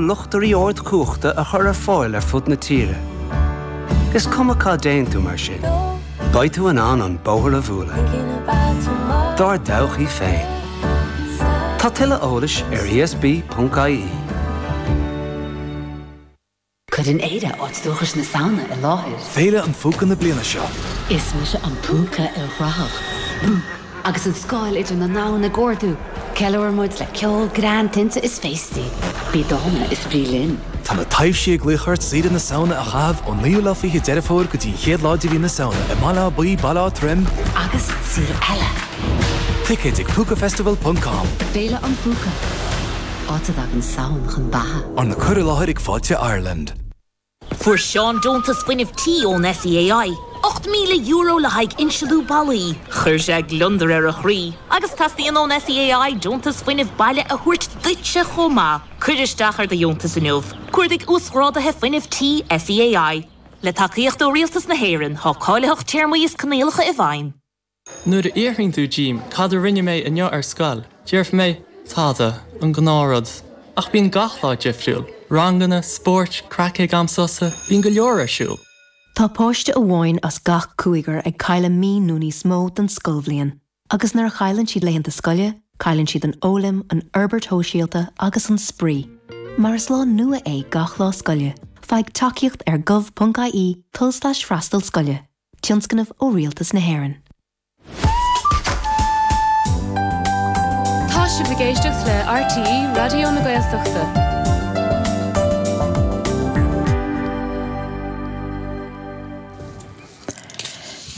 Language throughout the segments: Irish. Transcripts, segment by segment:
luchtairí ardchumhachta a chur ar fáil ar fud na tíre. Is cuma cá dtéann tú mar sin, beidh tú in ann an bóthar a bhualadh. Dár dtodhchaí féin. Tá tuilleadh eolais ar ESB.ie. Cuireann Éire áit dúchais na Samhna i láthair. Féile an Phúca na bliana seo. Is mise an púca ilchruthach. Bú! Agus an scáil idir na ndomhan ag ardú, ceiliúrann muid le ceol, greann, tinte is féastaí. Bí dána is bí linn. Tá na taibhsí ag glaoch ort saoire na Samhna a chaitheamh ón 9ú lá 20 Deireadh Fómhair go dtí an chéad lá de mhí na Samhna i mBaile Átha Buí, Baile Átha Troim, Agus saol eile. Ticéid ag púcafestival ponc com. Féile an Phúca. Áit a dtagann Samhain chun beatha. Arna cur i láthair ag Fáilte Ireland. Fuair Seán deontas fuinnimh tí ón SEAI, €8,000 le haghaidh insealú ballaí. Chuir sé gliondar ar a chroí. Agus teastaíonn ón SEAI deontas fuinnimh baile a thabhairt duitse chomh maith. Cuir isteach ar do dheontas inniu. Cuardaigh Uasghráduithe Fuinnimh Tí SEAI. Le tacaíocht ó Rialtas na hÉireann, tá cáilitheacht, téarmaí is coinníollacha i bhfeidhm. Nuair a fhiafraíonn tú díom cad a rinne mé inniu ar scoil, déarfaidh mé, tada, an gnáthrud. Ach bíonn gach lá difriúil, ranganna, spóirt, craic ag am sosa, bíonn go leor ar siúl. Tá páiste amháin as gach cúigear ag cailleadh mí nó níos mó den scoilbhliain. Agus nuair a chailleann siad laethanta scoile, cailleann siad an fhoghlaim, an fhorbairt shóisialta agus an spraoi. Mar is lá nua é gach lá scoile, faigh tacaíocht ar gov.ie tulslais freastal scoile. Tionscnamh ó Rialtas na hÉireann. Tá sibh ag éisteacht le RTÉ Raidió na Gaeltachta.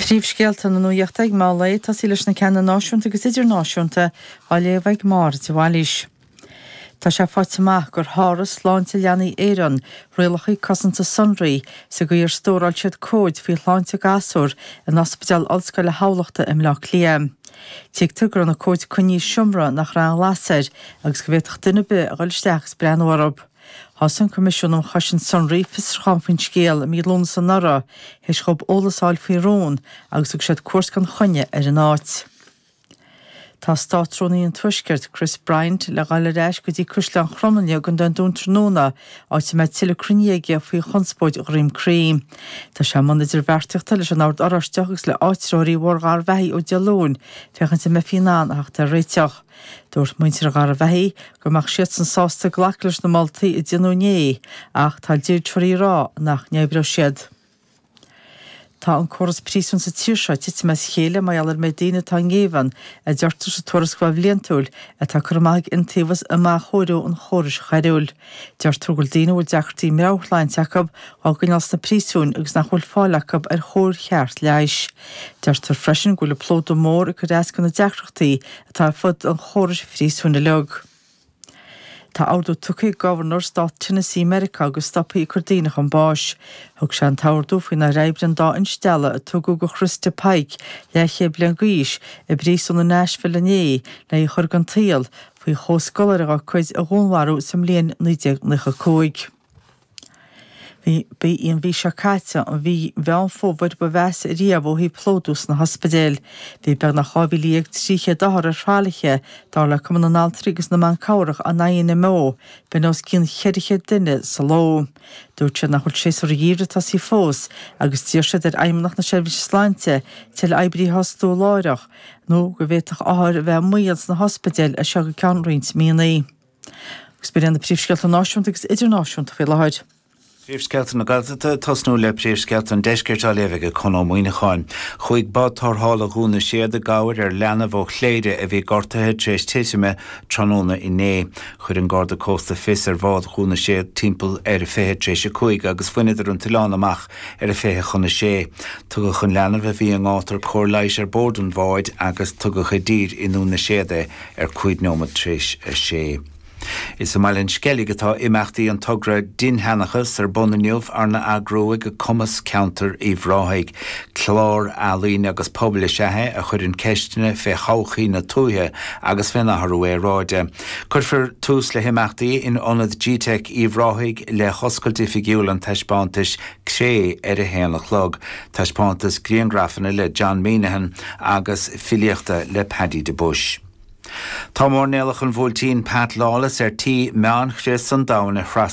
Príomhscéalta na nuachta ag meán lae, ag tosaí leis na ceanna náisiúnta agus idirnáisiúnta, á léamh ag Máire de Bhailís. Tá sé faighte amach gur sháraigh Sláinte Leanaí Éireann rialacha cosanta sonraí sa gcaoi ar stóráil siad comhaid faoi shláinte gasúr in Ospidéal Ollscoile Thamhlachta i mBleá Cliath. Tuigtear go raibh na comhaid coinnithe i seomra nach raibh aon ghlas air agus go bhféadfadh duine ar bith a dhul isteach agus breathnú orthu. Thosaigh an Coimisiún um Chosaint Sonraí fiosrúchán faoin scéal i mí Lúnasa anuraidh théis dhóibh eolas a fháil faoi rún agus thug siad cuairt gan choinne ar an áit. Tá Státrúnaí an Tuaiscirt, Chris Bryant, le dhul ar ais go dtí Caisleán Chromghlinne i gContae an Dúin tráthnóna, áit a mbeidh tuilleadh cruinnithe aige faoi chonspóid Dhroim Crí. Tá sé i mbun idirbheartaíochta leis an Ord Oráisteach agus le áitritheoirí Bhóthar Gharbhachaidh ó Dé Luain féachaint an mbeifí in ann a theacht ar réiteach. Dúirt muintir Gharbhachaidh go mbeadh siadsan sásta glacadh leis na moltaí a déanadh inné ach tá dlíodóirí ag rá nach n-oibreoidh siad. Tá an córas príosún sa tír seo ag titim as a chéile mar gheall ar an méid daoine atá i ngéibheann, a deirtear sa tuarascáil bhliantúil atá curtha amach ag Iontaobhas um Athchóiriú an Chórais Choiriúil. Deirtear go bhfuil daoine a bhfuil deacrachtaí meabhairshláinte acu á gcoinneáil sna príosúin agus nach bhfuil fáil acu ar chóir cheart leighis. Deirtear freisin go bhfuil an plódú mór ag cur as do na deacrachtaí atá ar fud an chórais phríosúin uilig. Tá ordú tugtha ag Gobharnóir Stát Tennessee Meiriceá go stopfaí ag cur daoine chun báis. Thug sé an t-ordú faoin ar oibrigh an dá instealladh a tugadh do Christa Pike, leathchéad bliain d'aois, i bpríosún i Nashville inné le í a chur den tsaol faoi chomhscoláire dá cuid a dhúnmharú sa mbliain 1995. Ba í an mhí seo caite an mhí Mheán Fómhair ba mheasa riamh ó thaobh plódú sna hospidéil. Bhí beagnach 12,300 othar ar thralaithe, dar le Cumann na nAltraí agus na mBan Cabhrach, an INMO, b'in os cionn 400 duine sa ló. Dúirt siad nach bhfuil séasúr an gheimhridh tosaithe fós agus d'iarr siad ar Fheidhmeannacht na Seirbhíse Sláinte tuilleadh oibrithe a fhostú láithreach nó go bhféadfadh othair a bheith i mbaol sna hospidéil as seo go ceann roinnt míonna. Agus b'in iad na príomhscéalta náisiúnta agus idirnáisiúnta faoi láthair. Príomhscéalta na Gaeltachta, Tosnú le príomhscéalta an Deiscirt á léamh ag Conn Ó Muíneacháin. Chuaigh bád tarrthála Dhún na Séad i gcabhair ar leanbh ó Chléire a bhí gortaithe tar éis titime tráthnóna inné. Chuir an Garda Cósta fios ar bhád Dhún na Séad timpeall ar a 5:40 agus bhaineadar an t-oileán amach ar a 5:40. Tugadh an leanbh a bhí i ngátar cóir leighis ar bord an bháid agus tugadh i dtír i nDún na Séad é ar 5 nóiméad tar éis a sé. Is i mBaile an Sceilg atá imeachtaí an togra Dinnsheanchas ar bun inniu arna eagrú ag Cumas Ceantair Uíbh Ráthaigh. Clár ealaíne agus pobail is ea é a chuireann ceisteanna fé thodhchaí na tuaithe agus fén athrú aeráide. Cuirfear tús le himeachtaí in Ionad G-Teic Uíbh Ráthaigh le hoscailt oifigiúil an taispeántais Cré ar a haon a chlog, taispeántas grianghrafanna le John Meenaghan agus filíochta le Paddy de Buis. Tá mairnéalach an Bhuailtín Pat Lawless ar tí meánchrios an domhain a thrasnú.